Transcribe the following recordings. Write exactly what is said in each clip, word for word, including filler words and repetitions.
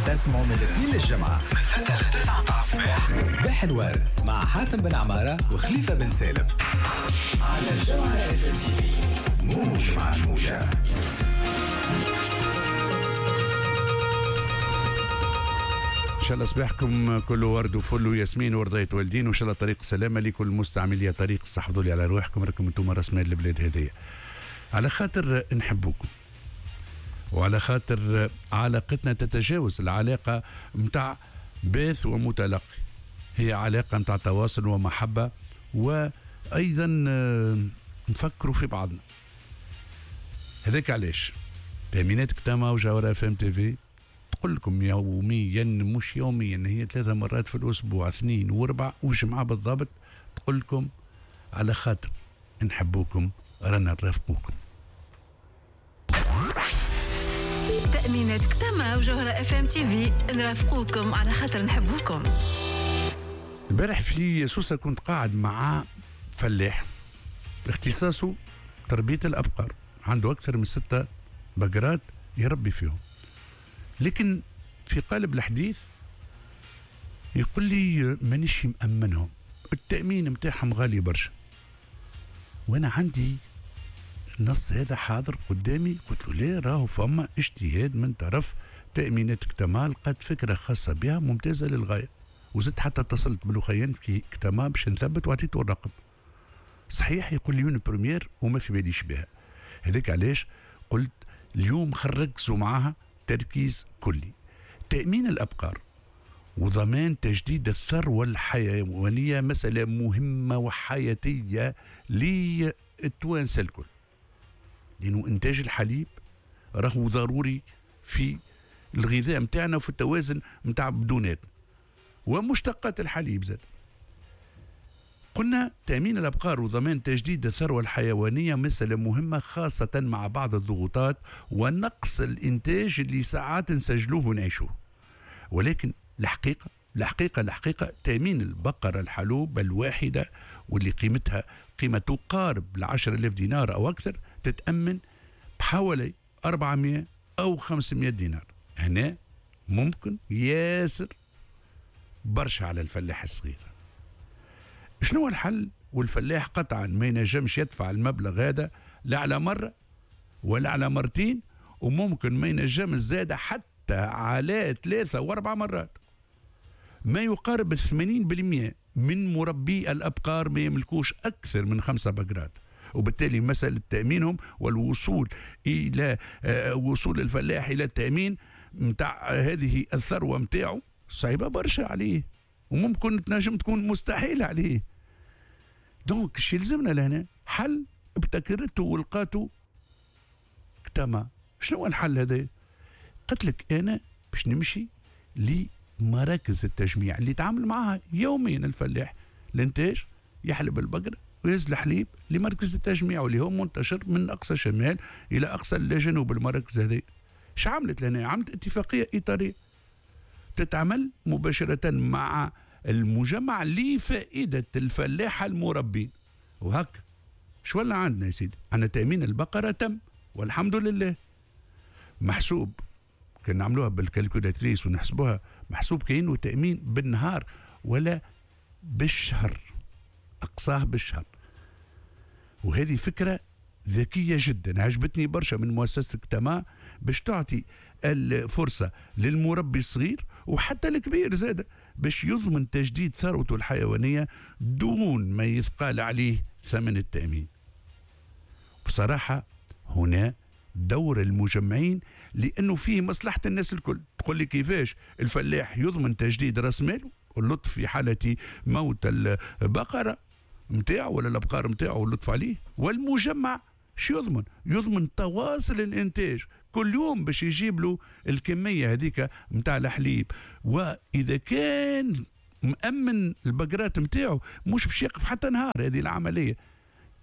تسمعوا من الاثنين للجمعة من ستة لتسعة متاع الصباح. صباح الورد مع حاتم بن عمارة وخليفة بن سالم على الجوهرة اف ام تي في، موج مع الموجة. ان شاء الله صباحكم كله ورد وفل وياسمين ورضاية والدين، وان شاء الله طريق السلامة لكل مستعملي طريق. استحفظوا لي على رواحكم، راكم انتم راس مال البلاد هذيا. على خاطر نحبوكم وعلى خاطر علاقتنا تتجاوز العلاقة متاع باث ومتلقي، هي علاقة متاع تواصل ومحبة، وأيضا نفكروا في بعضنا. هذاك علاش تأمينات كتامة وجوهرة اف ام تي في تقول لكم يوميا، مش يوميا، هي ثلاثة مرات في الأسبوع، اثنين واربع وجمعة بالضبط، تقول لكم على خاطر نحبوكم رانا نرافقوكم. تأمينات كتامة وجوهرة اف ام تي في نرافقوكم على خاطر نحبوكم. البارح في سوسة كنت قاعد مع فلاح اختصاصه تربية الأبقار، عنده أكثر من ستة بقرات يربي فيهم، لكن في قالب الحديث يقول لي مانيش مأمنهم، التأمين متاعهم غالي برشا. وأنا عندي النص هذا حاضر قدامي، قلت له ليه، راهو فما اجتهاد من طرف تأمينات كتما، لقات فكرة خاصة بها ممتازة للغاية، وزدت حتى اتصلت بالأخيان في كتما باش نثبت وعطيته الرقم. صحيح يقول لي une première وما في باليش بها. هذاك علاش قلت اليوم خرجوا معاها تركيز كلي. تأمين الأبقار وضمان تجديد الثروة الحيوانية مسألة مهمة وحياتية للتوانسة الكل، لأنه إنتاج الحليب راهو ضروري في الغذاء متاعنا وفي التوازن متاع بدوناتنا ومشتقات الحليب زاد. قلنا تأمين الأبقار وضمان تجديد الثروة الحيوانية مسألة مهمة، خاصة مع بعض الضغوطات ونقص الإنتاج اللي ساعات نسجلوه ونعيشوه. ولكن الحقيقة الحقيقة الحقيقة تأمين البقرة الحلوب الواحدة واللي قيمتها قيمة تقارب العشر آلاف دينار أو أكثر تتأمن بحوالي أربعمائة أو خمسمائة دينار. هنا ممكن ياسر برشا على الفلاح الصغير. شنو الحل؟ والفلاح قطعا ما ينجمش يدفع المبلغ هذا لا على مرة ولا على مرتين، وممكن ما ينجمش زاد حتى على ثلاثة واربع مرات. ما يقارب ثمانين بالمئة من مربي الأبقار ما يملكوش أكثر من خمسة بقرات، وبالتالي مسألة تأمينهم والوصول إلى وصول الفلاح إلى التأمين متاع هذه الثروة متاعه صعيبة برشا عليه، وممكن تنجم تكون مستحيل عليه. donc شي يلزمنا لهنا حل ابتكرته ولقاته كتما. شنو الحل هذا؟ قلت لك انا باش نمشي لمراكز التجميع اللي يتعامل معها يوميا الفلاح، الانتاج يحلب البقرة ويهز الحليب لمركز التجميع واللي هو منتشر من اقصى الشمال الى اقصى الجنوب. المراكز هذه اش عملت لهنا؟ عملت اتفاقية اطاريه تتعمل مباشرة مع المجمع لفائدة الفلاحة المربين. وهك شو ولا عندنا يا سيدي؟ عندنا تأمين البقرة تم والحمد لله، محسوب كان نعملوها بال calculatrice ونحسبوها، محسوب كأنه تأمين بالنهار ولا بالشهر، أقصاه بالشهر. وهذه فكرة ذكية جدا عجبتني برشا من مؤسسة كتما، باش تعطي الفرصة للمربي الصغير وحتى الكبير زاد باش يضمن تجديد ثروته الحيوانية دون ما يثقال عليه ثمن التأمين. بصراحة هنا دور المجمعين، لأنه فيه مصلحة الناس الكل. تقول لي كيفاش الفلاح يضمن تجديد راس ماله واللطف في حالة موت البقرة متاعه ولا الأبقار متاعه واللطف عليه، والمجمع شو يضمن؟ يضمن تواصل الإنتاج كل يوم باش يجيب له الكمية هذيك متاع الحليب. وإذا كان مأمن البقرات متاعه مش باش يقف حتى نهار، هذه العملية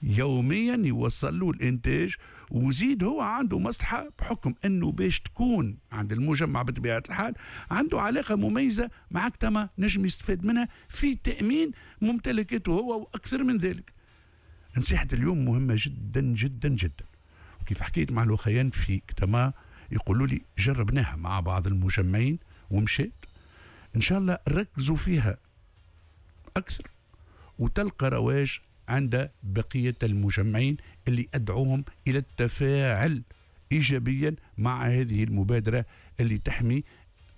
يوميا يوصل له الإنتاج، وزيد هو عنده مصلحة بحكم أنه باش تكون عند المجمع بطبيعة الحال عنده علاقة مميزة مع كتما نجم يستفاد منها في تأمين ممتلكاته هو وأكثر من ذلك. نصيحة اليوم مهمة جدا جدا جدا، وكيف حكيت مع الوخيان في كتما يقولوا لي جربناها مع بعض المجمعين ومشيت، ان شاء الله ركزوا فيها اكثر وتلقى رواج عند بقية المجمعين اللي ادعوهم الى التفاعل ايجابيا مع هذه المبادرة اللي تحمي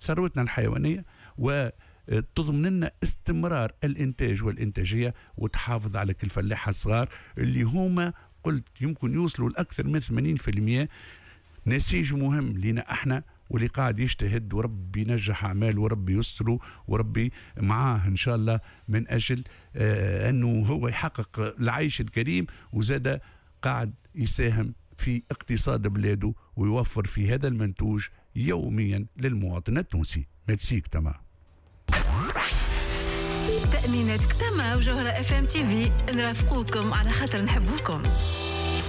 ثروتنا الحيوانية وتضمن لنا استمرار الانتاج والانتاجية، وتحافظ على كل الفلاحة الصغار اللي هما قلت يمكن يوصلوا لاكثر من ثمانين بالمئة. نسيج مهم لنا احنا، واللي قاعد يجتهد وربي ينجح اعماله وربي يستره وربي معاه ان شاء الله، من اجل آه انه هو يحقق العيش الكريم، وزاد قاعد يساهم في اقتصاد بلاده ويوفر في هذا المنتوج يوميا للمواطن التونسي. ميرسيك. تمام. تأمينات كتما وجوهرة اف ام تي في، نرافقوكم على خاطر نحبوكم.